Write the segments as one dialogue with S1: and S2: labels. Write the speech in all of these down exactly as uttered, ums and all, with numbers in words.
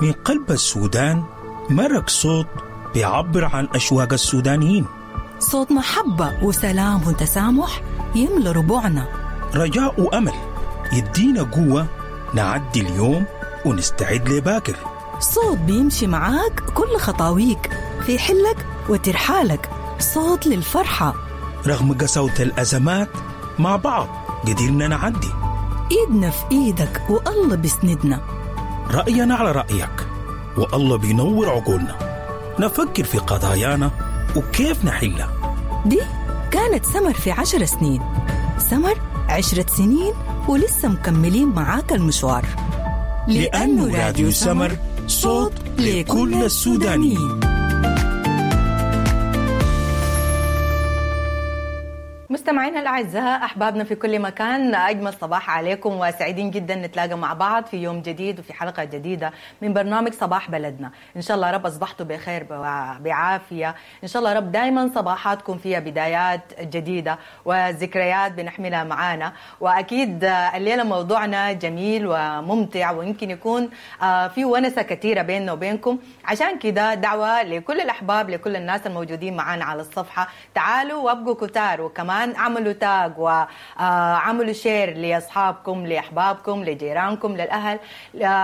S1: من قلب السودان مرق صوت بيعبر عن أشواق السودانيين،
S2: صوت محبة وسلام وتسامح يملى ربوعنا،
S1: رجاء وأمل يدينا قوة نعدي اليوم ونستعد لباكر،
S2: صوت بيمشي معاك كل خطاويك في حلك وترحالك، صوت للفرحة
S1: رغم قساوة الأزمات. مع بعض قدرنا نعدي،
S2: إيدنا في إيدك والله بيسندنا،
S1: رأينا على رأيك والله بينور عقولنا، نفكر في قضايانا وكيف نحلها.
S2: دي كانت سمر في عشر سنين، سمر عشرة سنين ولسه مكملين معاك المشوار،
S1: لأنه راديو سمر صوت لكل السودانيين.
S3: مستمعينا الأعزاء، أحبابنا في كل مكان، أجمل صباح عليكم وسعيدين جدا نتلاقى مع بعض في يوم جديد وفي حلقة جديدة من برنامج صباح بلدنا. إن شاء الله رب أصبحتوا بخير بعافية، إن شاء الله رب دايما صباحاتكم فيها بدايات جديدة وذكريات بنحملها معانا. وأكيد الليلة موضوعنا جميل وممتع ويمكن يكون في ونسة كثيرة بيننا وبينكم، عشان كده دعوة لكل الأحباب، لكل الناس الموجودين معانا على الصفحة، تعالوا وابقوا كتار، وكمان عملوا tag وعملوا share لأصحابكم، لأحبابكم، لجيرانكم، للأهل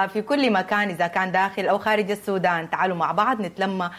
S3: في كل مكان، إذا كان داخل أو خارج السودان. تعالوا مع بعض نتلمى،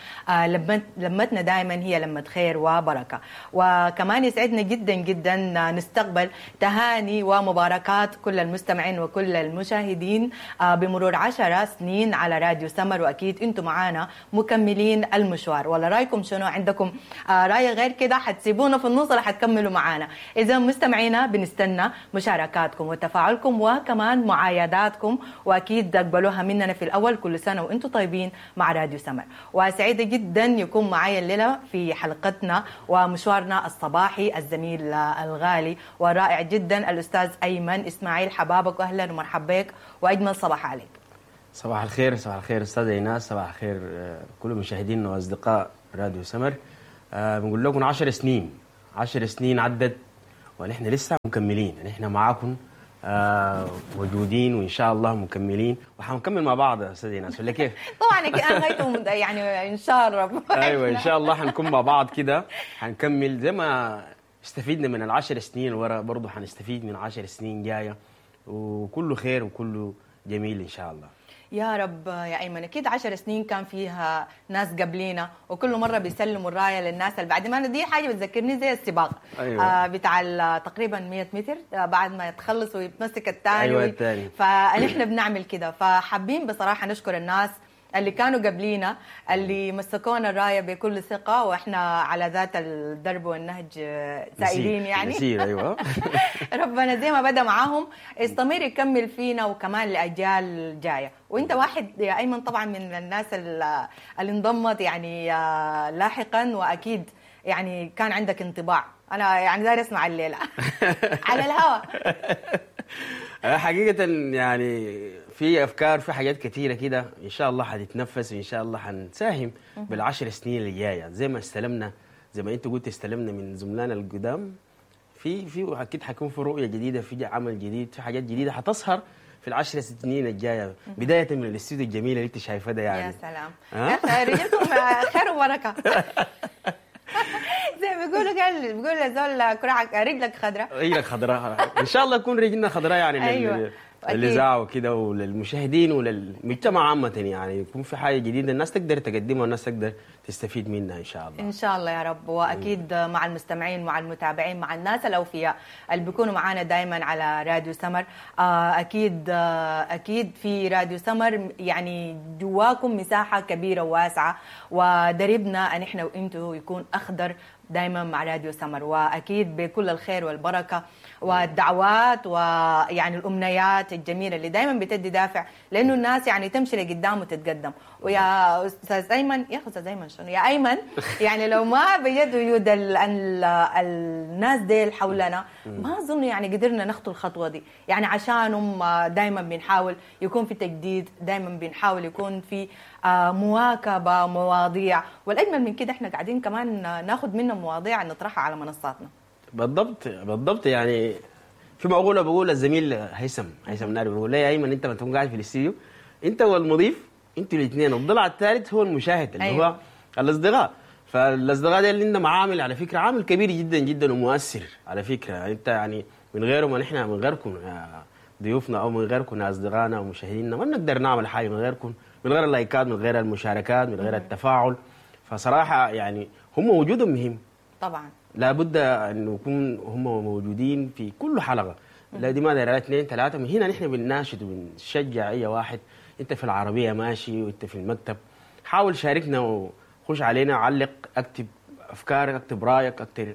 S3: لمتنا دائما هي لمة خير وبركة. وكمان يسعدنا جدا جدا نستقبل تهاني ومباركات كل المستمعين وكل المشاهدين بمرور عشر سنين على راديو سمر، وأكيد أنتم معانا مكملين المشوار. ولا رأيكم شنو؟ عندكم رأي غير كده؟ حتسيبونا في النص ولا حتكملوا معانا؟ إذا مستمعينا بنستنى مشاركاتكم وتفاعلكم وكمان معايداتكم، وأكيد تقبلوها مننا في الأول. كل سنة وأنتم طيبين مع راديو سمر. وسعيدة جدا يكون معايا الليلة في حلقتنا ومشوارنا الصباحي الزميل الغالي والرائع جدا الأستاذ أيمن إسماعيل. حبابك وأهلا ومرحبا بك وأجمل صباح عليك.
S4: صباح الخير. صباح الخير أستاذ إيناس، صباح الخير كل مشاهدينا وأصدقاء راديو سمر. أه بنقول لكم عشر سنين، عشر سنين عدت ونحن لسه مكملين، نحن معاكم آه موجودين وان شاء الله مكملين وحنكمل مع بعض يا استاذ ايناس، ولا كيف؟
S3: طبعا انا غايتهم يعني ان شاء الله.
S4: ايوه ان شاء الله حنكون مع بعض كده، حنكمل زي ما استفيدنا من العشر سنين ورا، برضه حنستفيد من عشر سنين جاية، وكله خير وكله جميل ان شاء الله
S3: يا رب. يا أيمن أكيد عشر سنين كان فيها ناس قبلينا وكل مرة بيسلموا الراية للناس اللي بعد ما. دي حاجة بتذكرني زي السباق. أيوة. آه بتاع تقريبا مية متر، آه بعد ما يتخلص ويتمسك الثاني.
S4: أيوة الثاني.
S3: فنحن بنعمل كده، فحابين بصراحة نشكر الناس اللي كانوا قبلينا، اللي مسكونا الراية بكل ثقة، وإحنا على ذات الدرب والنهج سائرين يعني.
S4: نسير. أيوة.
S3: ربنا زي ما بدأ معاهم استمر يكمل فينا وكمان لأجيال جاية. وإنت واحد يا أيمن طبعا من الناس اللي انضمت يعني لاحقا، وأكيد يعني كان عندك انطباع. أنا يعني داير أسمع الليلة على الهوا.
S4: حقيقة يعني في أفكار، في حاجات كثيرة كده إن شاء الله حتتنفس، وإن شاء الله حنساهم بالعشر سنين اللي جاية. زي ما استلمنا، زي ما أنت قلت استلمنا من زملائنا القدام، في في أكيد حيكون في رؤية جديدة، في عمل جديد، في حاجات جديدة حتظهر في العشر سنين الجاية، بداية من الاستوديو الجميل اللي أنت شايفاه ده يعني.
S3: يا سلام. يا رجلكم خير وبركة. زي ما بيقولوا، قال بيقولوا زول كرعك رجلك خضراء.
S4: رجلك خضراء ان شاء الله يكون رجلنا خضراء يعني.
S3: أيوة.
S4: للإذاعة وكده وللمشاهدين وللمجتمع عامة، يعني يكون في حاجة جديدة الناس تقدر تقدمها والناس تقدر تستفيد منها إن شاء الله.
S3: إن شاء الله يا رب. وأكيد مع المستمعين، مع المتابعين، مع الناس الأوفياء اللي بيكونوا معانا دايما على راديو سمر. أكيد أكيد في راديو سمر يعني جواكم مساحة كبيرة وواسعة، ودربنا أن إحنا وإنتوا يكون أخضر دايما مع راديو سمر، واكيد بكل الخير والبركة والدعوات ويعني الامنيات الجميلة اللي دايما بتدي دافع لانه الناس يعني تمشي لقدام وتتقدم. ويا استاذ ايمن، يا استاذ ايمن شنو يا ايمن، يعني لو ما بجد وجود ال ال الناس ديل حولنا ما اظن يعني قدرنا نخطو الخطوة دي. يعني عشانهم دايما بنحاول يكون في تجديد، دايما بنحاول يكون في مواكبة مواضيع، والاجمل من كده احنا قاعدين كمان ناخذ منهم مواضيع نطرحها على منصاتنا.
S4: بالضبط بالضبط. يعني في مقولة بقول الزميل هيثم هيثم ناري، بيقول لي يا ايمن انت ما تكون قاعد في الاستديو انت والمضيف انتوا الاثنين. الضلع الثالث هو المشاهد اللي
S3: أيوة.
S4: هو الاصدقاء. فالاصدقاء دي اللي عندهم عامل على فكرة، عامل كبير جدا جدا ومؤثر على فكرة. يعني انت يعني من غيره ما نحن، من غيركم يا ضيوفنا او من غيركم يا اصدقائنا ومشاهدينا ما بنقدر نعمل حاجة من غيركم، من غير اللايكات، من غير المشاركات، من غير التفاعل. فصراحة يعني هم وجودهم مهم،
S3: طبعا
S4: لابد انه يكون هم موجودين في كل حلقة. لا دي ما دايرة اثنين ثلاثة. من هنا نحن بنناشد وبنشجع اي واحد، انت في العربية ماشي وانت في المكتب، حاول شاركنا وخش علينا، علق، اكتب افكارك، اكتب رايك، اكتب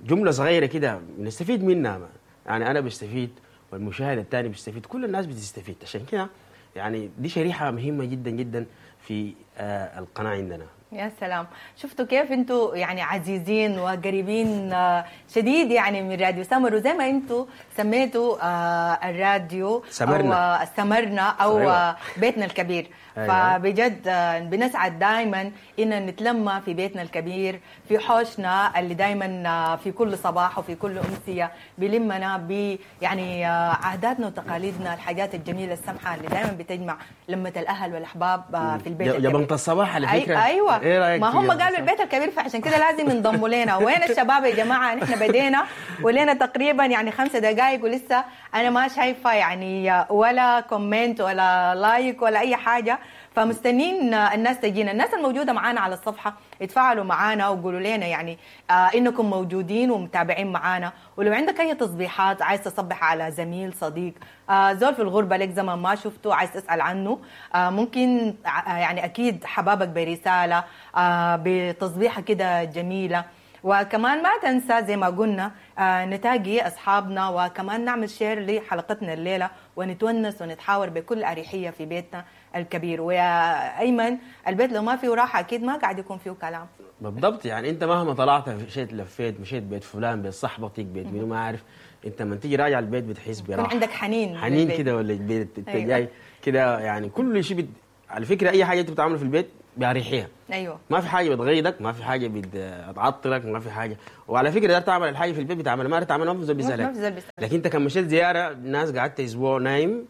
S4: جملة صغيرة كده بنستفيد منها. يعني انا بستفيد والمشاهد الثاني بيستفيد، كل الناس بتستفيد. عشان كده يعني دي شريحة مهمة جدا جدا في آه، القناة عندنا.
S3: يا سلام، شفتوا كيف انتوا يعني عزيزين وقريبين آه، شديد يعني من راديو سمر، وزي ما انتوا سميتوا آه، الراديو
S4: سمرنا.
S3: او آه، سمرنا او
S4: أيوة.
S3: آه، بيتنا الكبير.
S4: أيوة.
S3: فبجد آه، بنسعد دائما ان نتلمى في بيتنا الكبير، في حوشنا اللي دائما في كل صباح وفي كل امسية بيلمنا ب يعني آه، عاداتنا وتقاليدنا، الحاجات الجميلة السمحة اللي دائما بتجمع لمه الاهل والاحباب آه، في البيت
S4: يا
S3: الكبير.
S4: بنت الصباح على
S3: أي-
S4: فكرة.
S3: ايوه
S4: ايه رايك
S3: ما
S4: في
S3: هم
S4: جبنة
S3: قالوا
S4: الصباح؟
S3: البيت الكبير، فعشان كده لازم ينضموا لنا. وين الشباب يا جماعة؟ نحن بدينا ولينا تقريبا يعني خمسة دقائق ولسه انا ما شايفه يعني ولا comment ولا like ولا اي حاجة، فمستنين الناس تجينا. الناس الموجودة معانا على الصفحة يتفاعلوا معانا وقولوا لنا يعني آه انكم موجودين ومتابعين معانا، ولو عندك اي تصبيحات عايز تصبح على زميل صديق آه زول في الغربة لك زمان ما شفته عايز تسال عنه، آه ممكن آه يعني اكيد حبابك برسالة آه بتصبيحه كده جميلة. وكمان ما تنسى زي ما قلنا آه نتاجي اصحابنا، وكمان نعمل share لحلقتنا الليلة ونتونس ونتحاور بكل اريحية في بيتنا الكبير. ويا ايمن البيت لو ما فيه راحة اكيد ما قاعد يكون فيه كلام.
S4: بالضبط، يعني انت مهما طلعت مشيت لفيت مشيت بيت فلان بيت صاحبتك بيت مين ما عارف، انت لما تيجي راجع البيت بتحس براحة،
S3: يكون عندك حنين
S4: حنين
S3: للبيت.
S4: كده ولا البيت انت
S3: أيوة.
S4: جاي كده يعني كل شيء بت... على فكرة اي حاجة انت بتعمله في البيت باريحية،
S3: ايوه
S4: ما في حاجة بتغيظك، ما في حاجة بتعطلك، ما في حاجة. وعلى فكرة دار تعمل الحاجة في البيت بتعمل، ما تعمل ما في زول
S3: ما
S4: بيسالك.
S3: في زول بيسألك.
S4: لكن انت كان مشيت زيارة الناس قعدت اسبوع نايم،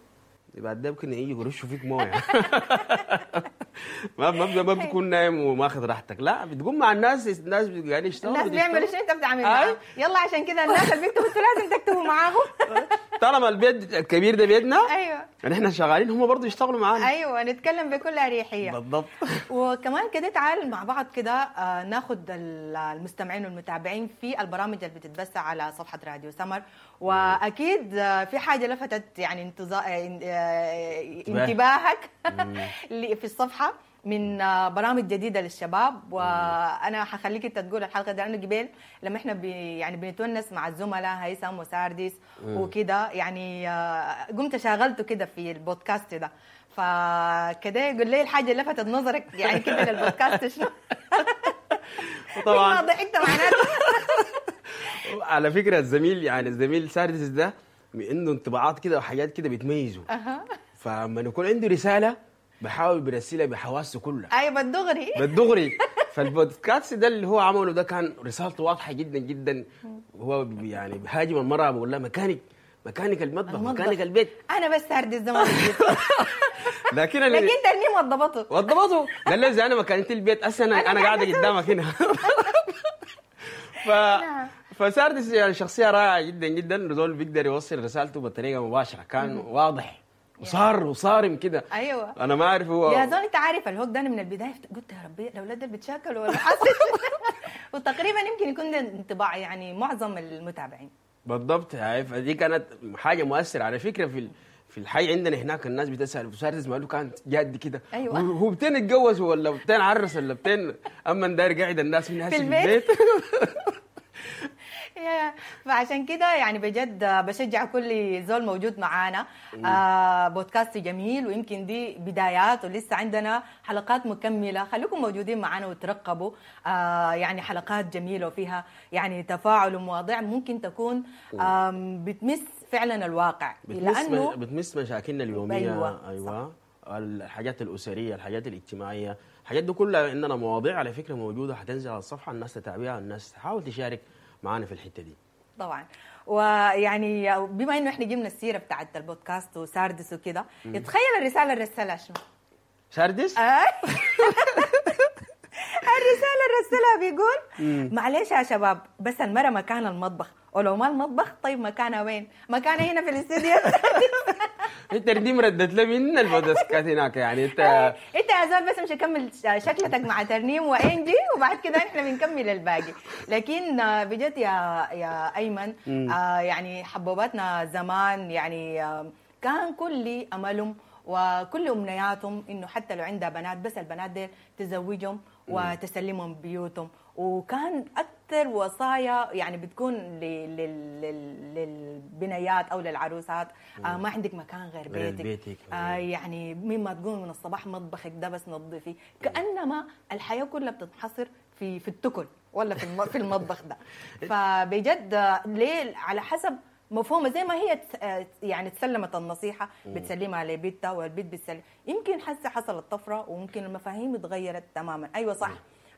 S4: بعد ده ممكن يجي يرشوا فيك مويه. ما ما ما بتكون نايم وماخذ راحتك، لا بتقوم مع الناس، الناس قاعدين يشتغلوا،
S3: الناس بيعملوا
S4: بتشتغل.
S3: شنو انت بتعمل
S4: أي.
S3: معاهم. يلا عشان كده الناس اللي بيكتبوا انتوا لازم تكتبوا معاهم.
S4: طالما البيت الكبير ده بيتنا،
S3: ايوه
S4: يعني احنا شغالين هم برضه يشتغلوا معانا.
S3: ايوه نتكلم بكل اريحية.
S4: بالضبط.
S3: وكمان كده تعال مع بعض كده آه، ناخد ال- المستمعين والمتابعين في البرامج اللي بتتبث على صفحة راديو سمر، واكيد آه، في حاجة لفتت يعني انتظا- آه، آه، انتباهك اللي في الصفحة من آه، برامج جديدة للشباب. وانا حخليك انت تقول الحلقة دي، لانه قبل لما احنا بي يعني بنتونس مع الزملاء هيثم وسارديس وكده يعني آه، قمت شغلته كده في البودكاست ده، فكده يقول لي الحاجة اللي لفتت نظرك يعني كده للبودكاست شنو؟
S4: طبعا
S3: ما ضحكت معناته.
S4: على فكرة الزميل يعني الزميل ساردس ده عنده انطباعات كده وحاجات كده بتميزه، فلما يكون عنده رسالة بحاول برسلها بحواسه كلها
S3: ايوه بالدغري
S4: بالدغري. فالبودكاست ده اللي هو عمله ده كان رسالته واضحة جدا جدا. هو يعني بيهاجم المراة بيقول لها مكانك مكانك المطبخ،
S3: المطبخ.
S4: مكانك البيت.
S3: انا بس ساردس زمان
S4: لكن اللي
S3: لكن ترنيم وضبطه
S4: وضبطه قال له اذا انا مكانتي البيت هسه انا انا قاعدة قدامك هنا. ف فساردس يعني شخصية رائعة جدا جدا، زول بيقدر يوصل رسالته بطريقة مباشرة، كان واضح وصار وصارم كده.
S3: ايوه
S4: انا ما اعرف هو
S3: يا زول انت عارف الهوك ده انا من البداية قلت يا ربي الاولاد دول بيتشاكلوا ولا حاسس. وتقريبا يمكن يكون ده انطباع يعني معظم المتابعين.
S4: بالضبط. هاي فدي كانت حاجة مؤثرة على فكرة في ال- في الحي عندنا هناك الناس بتسال ساردس ماله كانت جاد كده.
S3: أيوة.
S4: هو هو بتين اتجوز ولا بتين عرس ولا بتين اما داير قاعد الناس من
S3: في
S4: في
S3: البيت.
S4: البيت.
S3: يا، فعشان كده يعني بجد بشجع كل زول موجود معانا. آه بودكاست جميل، ويمكن دي بدايات ولسه عندنا حلقات مكملة، خليكم موجودين معانا وترقبوا آه يعني حلقات جميلة وفيها يعني تفاعل ومواضيع ممكن تكون آم، بتمس فعلا الواقع،
S4: بتمس
S3: لأنه
S4: بتمس مشاكلنا اليومية.
S3: أيوة،
S4: ايوه الحاجات الاسرية، الحاجات الاجتماعية، الحاجات دي كلها عندنا مواضيع على فكرة موجودة حتنزل على الصفحة، الناس تتابعها، الناس تحاول تشارك معانا في الحتة دي.
S3: طبعا. ويعني بما انه احنا جبنا السيرة بتاعت البودكاست وساردس وكده، تخيل الرسالة اللي رسلها شنو؟
S4: ساردس؟
S3: آه. الرسالة اللي رسلها بيقول معلش يا شباب، بس المرة مكان المطبخ، ولو ما المطبخ طيب مكانها وين؟ مكانها هنا في الاستوديو.
S4: انت دي مردت لي من البودكاست هناك يعني انت
S3: انت يا زول بس مش اكمل شكلتك مع ترنيم وانجي وبعد كده احنا بنكمل الباقي. لكن بجد يا يا ايمن، آه يعني حبوباتنا زمان يعني آه كان كل املهم وكل امنياتهم انه حتى لو عندها بنات بس البنات ديل تزوجهم وتسلمهم بيوتهم، وكان اكثر وصايا يعني بتكون للبنيات او للعروسات، آه ما عندك مكان غير بيتك,
S4: بيتك.
S3: آه يعني مما تقوم من الصباح مطبخك ده بس نظفي، كانما الحياة كلها بتنحصر في في التكل ولا في في المطبخ ده. فبجد ليه على حسب مفهومه زي ما هي يعني تسلمت النصيحة بتسلمها لبيتها والبيت بتسلم. يمكن حسه حصلت طفرة وممكن المفاهيم اتغيرت تماما. ايوه صح،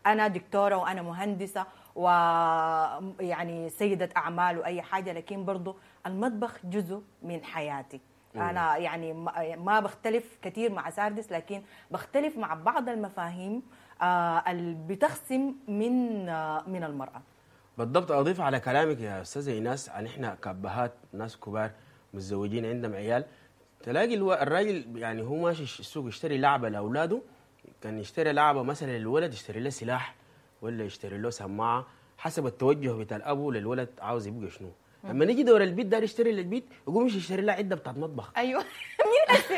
S3: انا دكتورة وانا مهندسه ويعني سيده اعمال واي حاجة، لكن برضو المطبخ جزء من حياتي. انا يعني ما بختلف كثير مع ساردس، لكن بختلف مع بعض المفاهيم اللي بتخصم من من المراة.
S4: بالضبط. اضيف على كلامك يا استاذه ايناس، عن احنا كابهات ناس كبار متزوجين عندهم عيال، تلاقي الراجل يعني هو ماشي السوق يشتري لعبه لاولاده، كان يشتري لعبه مثلا للولد يشتري له سلاح ولا يشتري له سماعه حسب التوجه بتاع الابو للولد عاوز يبقى شنو. لما نيجي دور البيت دار يشتري للبيت يقوم يشتري لها عده بتاعت مطبخ.
S3: ايوه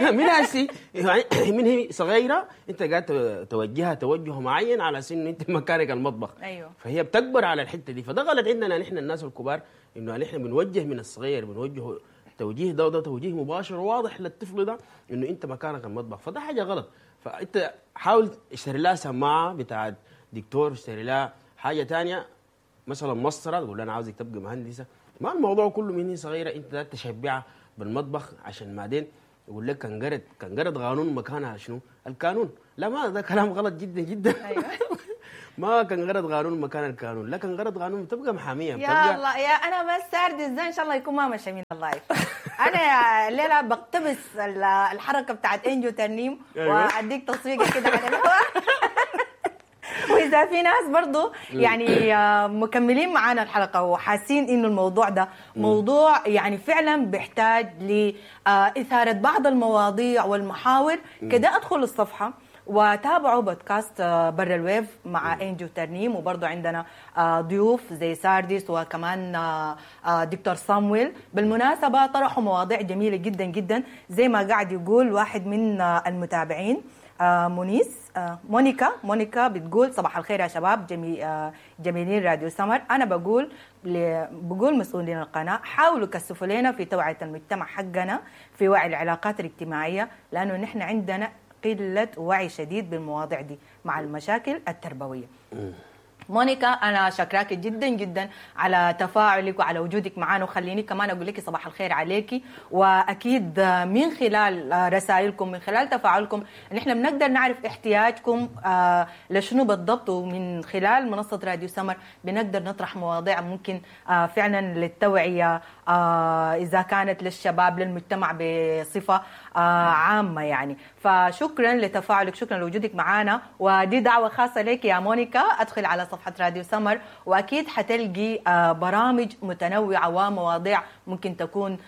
S4: مين هسي يعني من هي صغيرة انت قاعد توجهها توجه معين على سن انت مكانك المطبخ.
S3: ايوه
S4: فهي بتكبر على الحتة دي. فده غلط عندنا نحن الناس الكبار، انه نحن بنوجه من الصغير، بنوجهه توجيه ده وده توجيه مباشر وواضح للطفل ده انه انت مكانك المطبخ، فده حاجة غلط. فانت حاول اشتري لها سماعه بتاعت دكتور، اشتري لها حاجة ثانية مثلا مسطرة، تقول لها انا عاوزك تبقى مهندسه. ما الموضوع كله من هي صغيرة انت تشبعها بالمطبخ عشان بعدين يقول لك كان قرد كان قرد قانون مكانها شنو؟ القانون. لا، ما ده كلام غلط جدا جدا.
S3: ايوه
S4: ما كان غرض قانون مكان القانون، لا كان غرض قانون بتبقى محاميه.
S3: يا الله يا انا بس سارد ازاي ان شاء الله يكون ما مشى من ال live. انا يا الليلة بقتبس الحركة بتاعت انجو ترنيم.
S4: أيوة.
S3: واديك تصفيقه كده على الهواء. واذا في ناس برضو يعني مكملين معانا الحلقة وحاسين انه الموضوع ده موضوع يعني فعلا بيحتاج لاثاره بعض المواضيع والمحاور كده، ادخل الصفحة وتابعوا بودكاست برا ال wave مع انجو ترنيم، وبرضو عندنا ضيوف زي سارديس وكمان دكتور صامويل. بالمناسبة طرحوا مواضيع جميلة جدا جدا، زي ما قاعد يقول واحد من المتابعين مونيس مونيكا مونيكا بتقول صباح الخير يا شباب جميل جميلين راديو سمر. انا بقول بقول مسؤولين القناة حاولوا كثفوا لنا في توعيه المجتمع حقنا في وعي العلاقات الاجتماعية، لانه نحن عندنا قلة وعي شديد بالمواضيع دي مع المشاكل التربوية. مونيكا انا شكراك جدا جدا على تفاعلك وعلى وجودك معنا، وخليني كمان اقول لك صباح الخير عليكي. واكيد من خلال رسائلكم من خلال تفاعلكم نحن بنقدر نعرف احتياجكم لشنو بالضبط، ومن خلال منصة راديو سمر بنقدر نطرح مواضيع ممكن فعلا للتوعية اذا كانت للشباب للمجتمع بصفة عامة يعني. فشكرا لتفاعلك، شكرا لوجودك معنا، ودي دعوه خاصة لك يا مونيكا، ادخل على صفحة راديو سمر وأكيد حتلقي برامج متنوعة ومواضيع ممكن تكون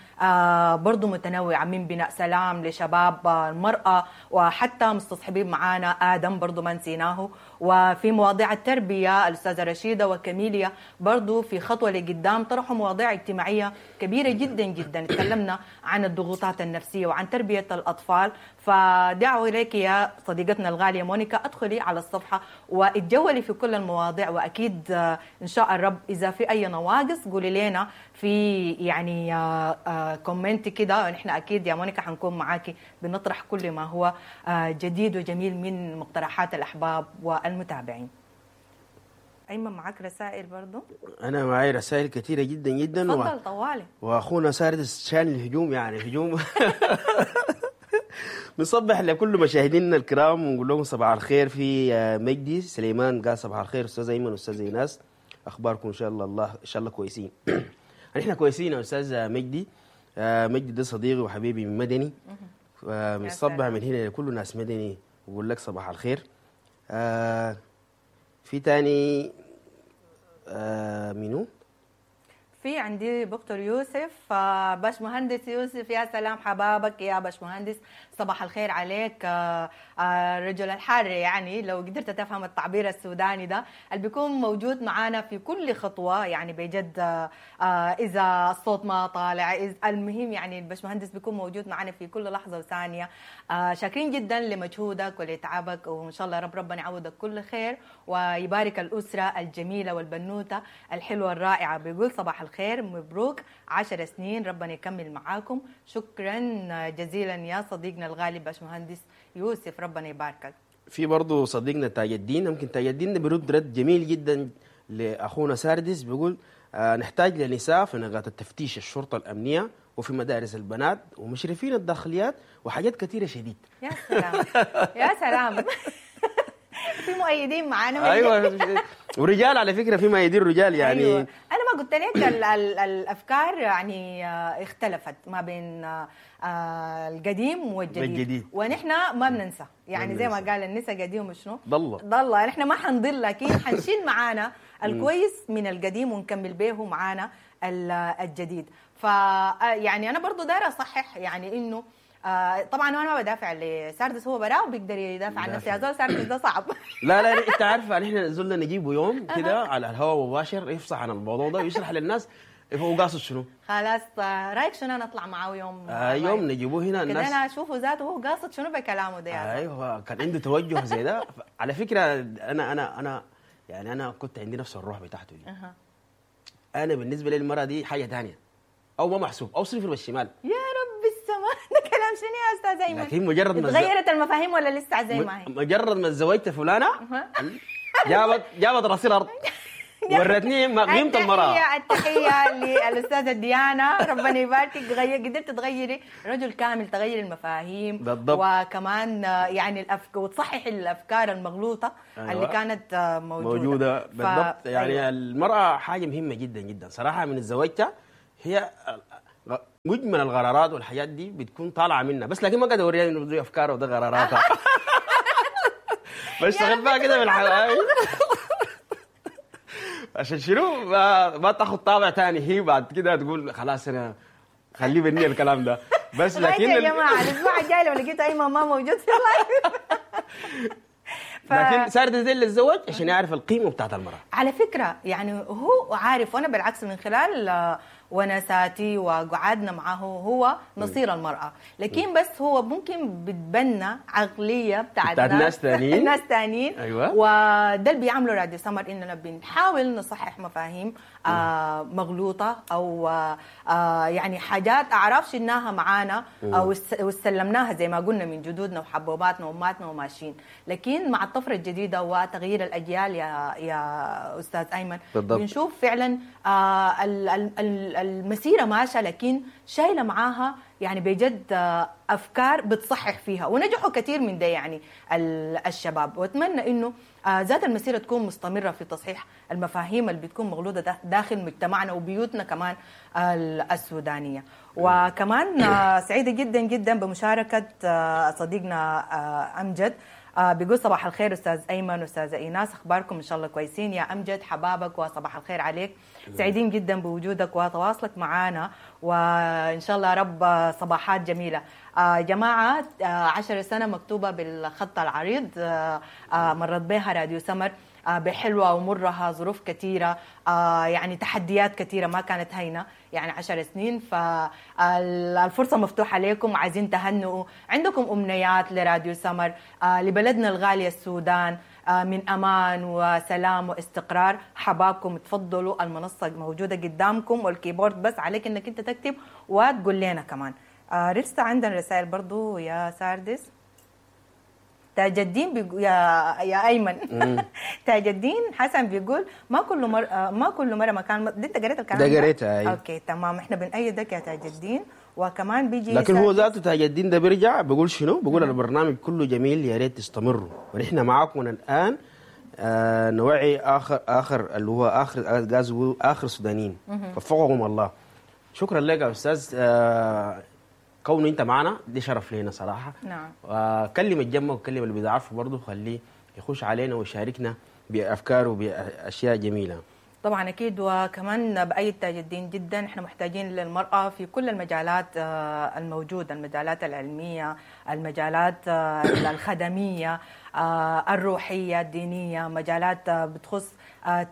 S3: برضو متنوعة، من بناء سلام لشباب المرأة، وحتى مستصحبين معانا آدم برضو ما نسيناه، وفي مواضيع التربية الأستاذة رشيدة وكميليا برضو في خطوة لقدام طرحوا مواضيع اجتماعية كبيرة جدا جدا، تكلمنا عن الضغوطات النفسية وعن تربية الأطفال. فدعوة إليك يا صديقتنا الغالية مونيكا، أدخلي على الصفحة واتجولي في كل المواضيع، وأكيد إن شاء الرب إذا في أي نواقص قولي لنا في يعني comment كده، نحن أكيد يا مونيكا حنكون معاكي بنطرح كل ما هو جديد وجميل من مقترحات الأحباب والمتابعين. أيمن معاك رسائل برضو؟
S4: أنا معي رسائل كثيرة جدا جدا.
S3: تفضل و... طوالي.
S4: وأخونا ساردس شان الهجوم يعني هجوم. بنصبح لكل مشاهدينا الكرام ونقول لهم صباح الخير. في مجدي سليمان قال صباح الخير استاذ ايمن واستاذ ايناس، اخباركم ان شاء الله الله ان شاء الله كويسين. نحن كويسين يا استاذ مجدي. مجدي ده صديقي وحبيبي من مدني، بنصبح من هنا لكل ناس مدني وبقول لك صباح الخير. آه في تاني آه منو؟
S3: في عندي دكتور يوسف، آه، باش مهندس يوسف، يا سلام حبابك يا باش مهندس، صباح الخير عليك. آه، آه، الرجل الحار، يعني لو قدرت تفهم التعبير السوداني ده اللي بيكون موجود معانا في كل خطوة، يعني بجد آه، آه، إذا الصوت ما طالع، إذا المهم يعني الباش مهندس بيكون موجود معانا في كل لحظة وثانية. آه، شاكرين جدا لمجهودك ولتعبك، وإن شاء الله رب ربنا يعوضك كل خير ويبارك الأسرة الجميلة والبنوتة الحلوة الرائعة. بيقول صباح الخير، مبروك عشر سنين، ربنا يكمل معاكم. شكرا جزيلا يا صديقنا الغالي باشمهندس يوسف، ربنا يباركك.
S4: في برضه صديقنا تاج الدين، ممكن تاج الدين ده بيرد رد جميل جدا لاخونا ساردس، بيقول آه نحتاج لنساء في نقاط التفتيش الشرطة الامنية وفي مدارس البنات ومشرفين الداخليات وحاجات كثيرة شديد.
S3: يا سلام يا سلام. في مؤيدين معانا.
S4: ايوه ورجال على فكرة، في مؤيدين رجال يعني.
S3: أيوة. انا ما قلت لك ال ال الافكار يعني آه، اختلفت ما بين آه، آه، القديم والجديد،
S4: والجديد.
S3: ونحن ما بننسى يعني،
S4: ما
S3: زي ما
S4: بننسى.
S3: قال النسا قديم وشنو
S4: ضل.
S3: ضل، نحن ما حنضل، لكن حنشيل معانا الكويس من القديم ونكمل به معانا ال- الجديد. ف يعني انا برضو دايرة اصحح يعني انه آه، طبعا انا ما بدافع لساردس، هو براه بيقدر يدافع عن نفسه، يا زول ساردس ده صعب.
S4: لا لا انت عارفه نحن زلنا نجيبه يوم كده على الهواء مباشر يفصح عن الموضوع ده ويشرح للناس هو قاصد شنو.
S3: خلاص آه، رايك شنو انا اطلع معاه يوم؟
S4: آه يوم نجيبوه هنا
S3: كده
S4: الناس
S3: انا اشوفه ذاته هو قاصد شنو بكلامه ده يا زول.
S4: ايوه كان عنده توجه زي ده. على فكرة انا انا انا يعني انا كنت عندي نفس الروح بتاعته دي.
S3: أها.
S4: انا بالنسبة لي المراة دي حاجة ثانية، او ما محسوب او صفر بالشمال.
S3: يا رب السماء، ده كلام شنو يا استاذ ايمن؟
S4: لكن مجرد ما
S3: تغيرت المفاهيم ولا لسه زي ما هي؟
S4: مجرد ما تزوجت فلانه جابت جابت راسي الارض، ورتني ما قيمة المراة.
S3: التحية التحية للأستاذة ديانا، ربنا يباركك، غير قدرت تغيري رجل كامل، تغيري المفاهيم
S4: بالضبط.
S3: وكمان آه، يعني الأفك... وتصححي الأفكار المغلوطة
S4: أيوة.
S3: اللي كانت آه، موجودة
S4: موجودة
S3: ف...
S4: بالضبط. يعني
S3: أيوة.
S4: المراة حاجة مهمة جدا جدا صراحة. من تزوجتها هي مجمل القرارات والحاجات دي بتكون طالعه منها، بس لكن ما قاعد اوريها انه دي افكارها وده قراراتها. بشتغل بقى كده بالحلقة عشان شنو ما, ما تاخذ طابع ثاني، هي بعد كده تقول خلاص انا خليه بني الكلام ده بس.
S3: لكن
S4: لكن
S3: يا جماعة الأسبوع الجاي لو لقيت أيمن ما موجود في ال live. ف...
S4: لكن صارت زي اللي تزوج عشان يعرف القيمة بتاعت المراة.
S3: على فكرة يعني هو عارف، وأنا بالعكس من خلال آه، ونساتي وقعدنا معه هو نصير المرأة، لكن بس هو ممكن بتبنى عقلية بتاعت,
S4: بتاعت ناس تانيين.
S3: ناس تانيين.
S4: أيوة.
S3: وده اللي بيعمله راديو سمر، إننا بنحاول نصحح مفاهيم آه مغلوطة أو آه يعني حاجات أعراف شلناها معانا أو است- واستلمناها زي ما قلنا من جدودنا وحبوباتنا وأماتنا وماشيين، لكن مع الطفرة الجديدة وتغيير الأجيال يا يا أستاذ أيمن
S4: بالضبط.
S3: بنشوف فعلا آه ال- ال- ال- المسيرة ماشية، لكن شايلة معاها يعني بجد آه، أفكار بتصحح فيها، ونجحوا كثير من ده يعني ال- الشباب. وأتمنى إنه آه، ذات المسيرة تكون مستمرة في تصحيح المفاهيم اللي بتكون مغلوطة دا- داخل مجتمعنا وبيوتنا كمان ال- السودانية. وكمان آه، سعيدة جدا جدا بمشاركة آه، صديقنا آه، أمجد، آه، بيقول صباح الخير استاذ ايمن واستاذه ايناس، اخباركم ان شاء الله كويسين يا امجد، حبابك وصباح الخير عليك، سعيدين جدا بوجودك وتواصلك معنا، وان شاء الله رب صباحات جميلة. آه، جماعة آه، عشر سنة مكتوبة بالخط العريض، آه، آه، مرت بها راديو سمر آه، بحلوة ومرها، ظروف كثيرة، آه، يعني تحديات كثيرة ما كانت هينة، يعني عشر سنين. فالفرصة مفتوحة لكم، عايزين تهنئوا، عندكم أمنيات لراديو سمر، آه، لبلدنا الغالية السودان، آه، من أمان وسلام واستقرار، حبابكم تفضلوا، المنصة موجودة قدامكم والكيبورد بس عليك انك انت تكتب وتقول لنا كمان. آه، لسه عندنا رسائل برضو يا ساردس. تاج الدين بيقو... يا يا ايمن، تاج الدين حسن بيقول ما كل مر... ما كل مرة مكان دي انت قريت الكلام
S4: ده قريتها، أيوة.
S3: okay تمام، احنا بنأيدك يا تاج الدين. وكمان بيجي
S4: لكن هو
S3: ساردس-
S4: ذاته تاج الدين ده بيرجع بيقول شنو؟ بيقول البرنامج كله جميل، يا ريت تستمروا ونحن معاكم من الان. آه نوعي اخر اخر اللي هو اخر غاز اخر سودانيين، وفقهم الله. شكرا لك يا استاذ آه كونه انت معنا دي شرف لينا صراحة.
S3: نعم.
S4: وكلم الجمه وكلم اللي بيعرفه برضه، خليه يخش علينا ويشاركنا بافكاره وباشياء جميلة.
S3: طبعا اكيد، وكمان بايد تاج الدين جدا، احنا محتاجين للمراة في كل المجالات الموجودة، المجالات العلمية، المجالات الخدميه، الروحية، الدينية، مجالات بتخص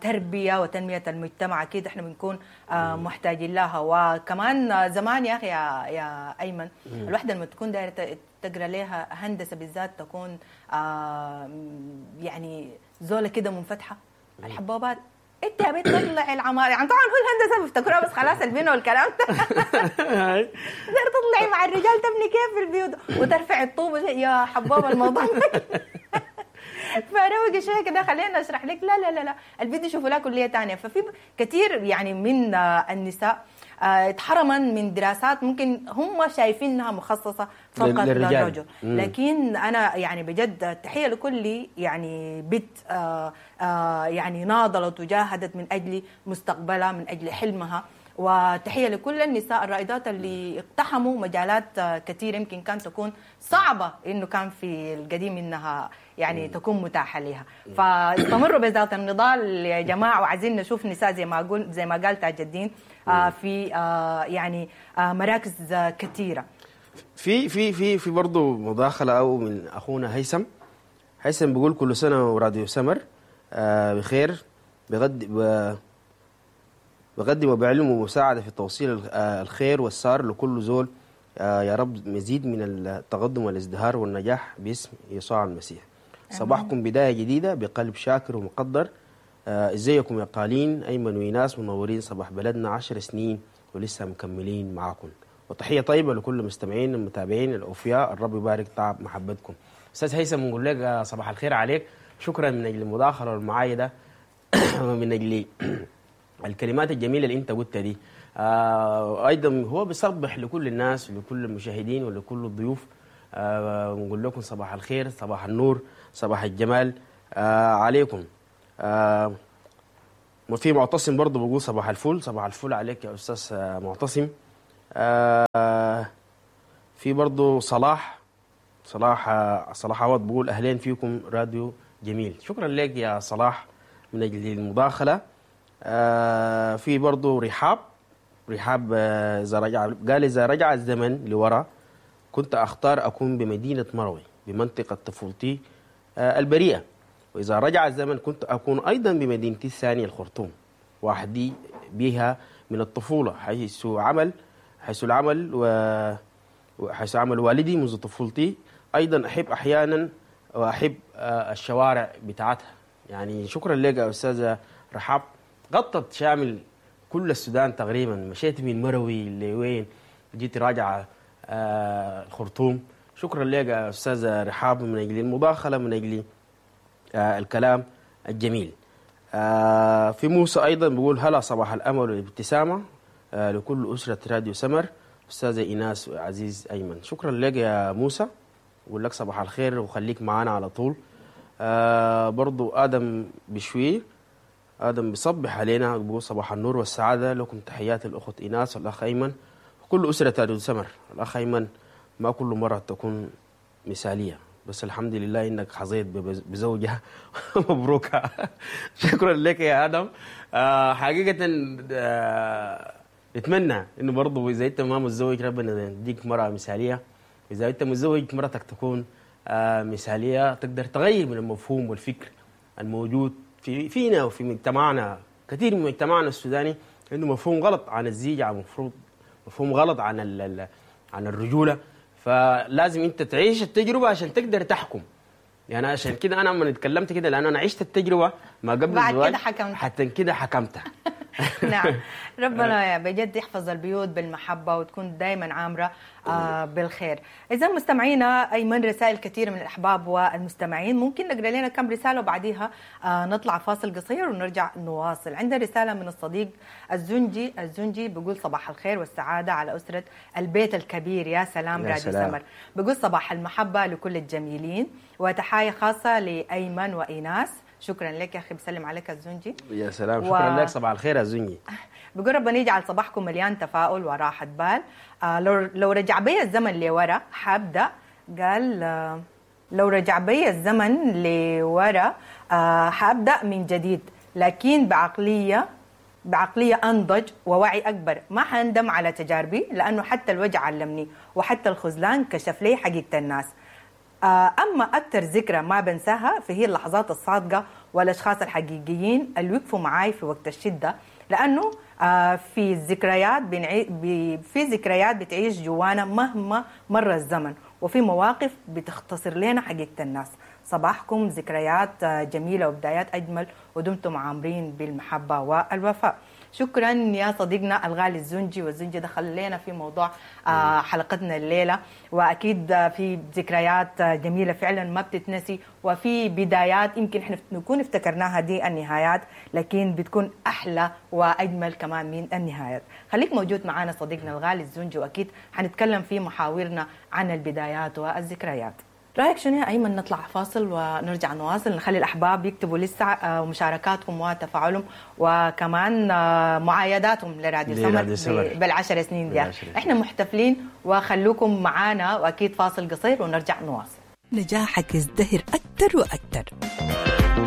S3: تربيه وتنميه المجتمع، اكيد احنا بنكون محتاجين لها. وكمان زمان يا اخي يا, يا ايمن، الوحدة لما تكون دايرة تقرا لها هندسة بالذات تكون يعني زوله كده منفتحة، الحبوبات انت يا بنت تطلعي العمارة، يعني طبعا هو الهندسة بيفتكروها بس خلاص البنى والكلام ده تقدر تطلعي مع الرجال تبني كيف في البيوت وترفعي الطوب يا حبوبه الموضوع فروقي شوية كده خلينا اشرح لك. لا لا لا لا، البيت يشوفوا لها كليه ثانية. ففي كثير يعني من النساء اتحرمن من دراسات ممكن هم شايفينها مخصصة فقط للرجل، لكن انا يعني بجد تحية لكل يعني بنت يعني ناضلت وجاهدت من اجل مستقبلها، من اجل حلمها، وتحية لكل النساء الرائدات اللي اقتحموا مجالات كثيرة يمكن كانت تكون صعبة انه كان في القديم انها يعني تكون متاحة لها. فاستمروا بذات النضال يا جماعة، وعايزين نشوف نساء زي ما قول زي ما قال تاج الدين في يعني مراكز كثيرة.
S4: في في في في برضه مداخله او من اخونا هيثم. هيثم بيقول كل سنة وراديو سمر بخير، بغد بقدم وبعلم ومساعدة في توصيل الخير والسار لكل زول، يا رب مزيد من التقدم والازدهار والنجاح باسم يسوع المسيح. صباحكم بداية جديدة بقلب شاكر ومقدر. ازيكم يا قالين أيمن وإيناس، منورين صباح بلدنا عشر سنين ولسه مكملين معاكم. وتحية طيبة لكل المستمعين المتابعين الأوفياء، الرب يبارك تعب محبتكم. أستاذ هيثم بنقول لك صباح الخير عليك، شكرا من أجل المداخلة والمعايدة ومن أجل الكلمات الجميلة اللي انت قلتها دي. آه ايضا هو بيصبح لكل الناس ولكل المشاهدين ولكل الضيوف، آه ونقول لكم صباح الخير، صباح النور، صباح الجمال آه عليكم. آه وفي معتصم برضه بيقول صباح الفل، صباح الفل عليك يا استاذ معتصم. آه في برضه صلاح صلاح صلاح عوض بيقول اهلين فيكم راديو جميل. شكرا لك يا صلاح من اجل المداخلة. آه في برضو رحاب رحاب إذا رجع، قال إذا رجع الزمن لورا كنت أختار أكون بمدينة مروي بمنطقة طفولتي آه البريئة، وإذا رجع الزمن كنت أكون أيضا بمدينتي الثانية الخرطوم وحدي بها من الطفولة، حيث عمل حيث العمل وحيث عمل والدي منذ طفولتي. أيضا أحب أحيانا وأحب آه الشوارع بتاعتها. يعني شكرا لك يا أستاذة رحاب، غطت شامل كل السودان تقريبا، مشيت من مروي لوين جيت راجعه آه الخرطوم. شكرا لك يا استاذه رحاب من اجل المداخلة، من اجل آه الكلام الجميل. آه في موسى ايضا بيقول هلا صباح الامل والابتسامة آه لكل اسره راديو سمر، استاذه ايناس وعزيز ايمن. شكرا لك يا موسى، بقول لك صباح الخير وخليك معانا على طول. آه برضو ادم بشوير، آدم بيصبح علينا بيقول صباح النور والسعادة لكم، تحيات الأخت إيناس والأخ أيمن وكل أسرة راديو سمر. الأخ أيمن ما كل مرة تكون مثالية، بس الحمد لله إنك حظيت بزوجة مبروكة. شكرا لك يا آدم. آه حقيقة آه نتمنى إنه برضه إذا أنت ما متزوج ربنا يديك مرأة مثالية، إذا أنت متزوج مرتك تكون آه مثالية، تقدر تغير من المفهوم والفكر الموجود في فينا وفي مجتمعنا. كثير من مجتمعنا السوداني عنده مفهوم غلط عن الزيجة، مفروض مفهوم غلط عن عن الرجولة، فلازم انت تعيش التجربة عشان تقدر تحكم. يعني عشان كده انا لما اتكلمت كده لان انا عشت التجربة ما قبل
S3: بعد
S4: الزواج،
S3: كده حكمت،
S4: حتى كده حكمتها.
S3: نعم، ربنا بجد يحفظ البيوت بالمحبة وتكون دائما عامرة آه بالخير. إذا مستمعينا أيمن رسائل كثيرة من الأحباب والمستمعين، ممكن نقرأ لنا كم رسالة وبعديها آه نطلع فاصل قصير ونرجع نواصل. عندنا رسالة من الصديق الزنجي، الزنجي بيقول صباح الخير والسعادة على أسرة البيت الكبير. يا سلام راديو سمر. بيقول صباح المحبة لكل الجميلين، وتحايا خاصة لأيمن وإيناس. شكرا لك يا اخي، بسلم عليك الزنجي.
S4: يا سلام، شكرا و... لك، صباح الخير يا زنجي.
S3: بقول ربنا يجعل صباحكم مليان تفاؤل وراحة بال. آه لو لو رجع بي الزمن لورا حابدا، قال آه لو رجع بي الزمن لورا آه حابدا من جديد، لكن بعقلية بعقلية أنضج ووعي أكبر. ما حندم على تجاربي، لأنه حتى الوجع علمني وحتى الخذلان كشف لي حقيقة الناس. أما أكثر ذكرى ما بنساها فهي اللحظات الصادقة والأشخاص الحقيقيين اللي وقفوا معاي في وقت الشدة، لأنه في الذكريات بنعي... في ذكريات بتعيش جوانا مهما مر الزمن، وفي مواقف بتختصر لنا حقيقة الناس. صباحكم ذكريات جميلة وبدايات أجمل، ودمتم عامرين بالمحبة والوفاء. شكرا يا صديقنا الغالي الزنجي، والزنجي دخل لنا في موضوع حلقتنا الليلة، وأكيد في ذكريات جميلة فعلا ما بتتنسي، وفي بدايات يمكن احنا نكون افتكرناها دي النهايات، لكن بتكون أحلى وأجمل كمان من النهايات. خليك موجود معنا صديقنا الغالي الزنجي، وأكيد حنتكلم في محاورنا عن البدايات والذكريات. رأيك شنو يا أيمن نطلع فاصل ونرجع نواصل، نخلي الأحباب يكتبوا لسه مشاركاتهم وتفاعلهم وكمان معايداتهم لراديو سمر بالعشر سنين دي. احنا محتفلين وخلوكم معانا، وأكيد فاصل قصير ونرجع نواصل.
S2: نجاحك يزدهر أكثر وأكثر.